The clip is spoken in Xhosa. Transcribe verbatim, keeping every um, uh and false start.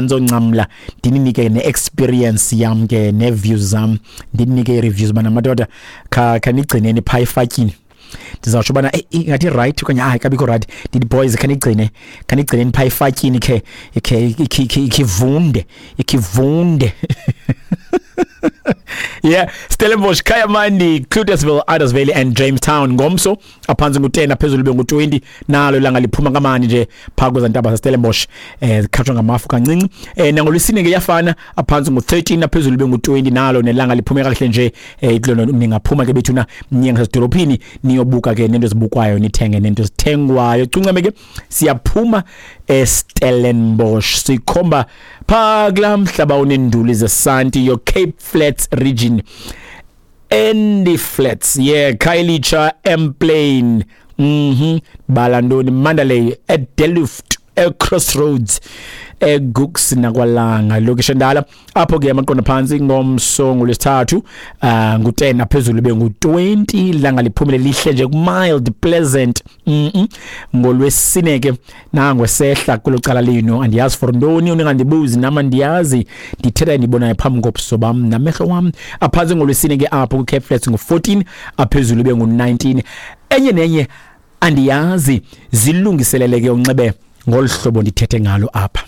Ndizoncamla ndininike ne-experience yam ke, nee-views zam, ndinike ii-reviews bana madoda, khanigcineni phaa efatyini. Ndizawutsho ubana ingathi right okanye hayi kabikho right. Ndithi, "Boys, khanigcine, khanigcineni phaa efatyini, khe khe ikhe ivunde, ikhe ivunde." Yeah, Stellenbosch, Kayamandi, Cloetesville, Idas Valley and Jamestown ngomso aphantsi ngu-ten, aphezulu bengu-twenty. Nalo ilanga liphuma kamandi nje phaa kweza ntaba zaseStellenbosch, eh zikhatshwa ngamafu kancinci. eh nangolwesine ke iyafana, aphantsi ngu-thirteen, aphezulu bengu-twenty. Nalo nelanga liphume kakuhle nje. eh kulona ningaphuma ke bethuna, niye ngasedolophini, niyobuka ke nento ezibukwayo, nithenge nento ezithengwayo. Cuncame ke, siyaphuma eStellenbosch, sikhomba phaa kulaa mhlaba unenduli zesanti, your Cape Flats region, Andy Flats, yeah, Khayelitsha, Emplane, mhm Balandoni, Mandalay, eDelft, eCrossroads, eGugs nakwaLanga, lokishi endala. Apho ke amaqondo phantsi ngomso ngolwesithathu uh, ngu-ten, aphezulu bengu-twenty. Langa liphumile lihle nje, mild, pleasant. mm -mm. Ngolwesine ke nangwesehla kulo cala lenu, andiyazi for ntoni, ningandibuzi nama ndiyazi, ndithetha endibonayo phambi kobuso bam namehlo wam. Aphantsi ngolwesine ke apho ku-Cape Flats ngu-fourteen, aphezulu bengu-nineteen. Enye nenye andiyazi, zilungiselele ke unxibe ngolu hlobo ndithethe ngalo apha.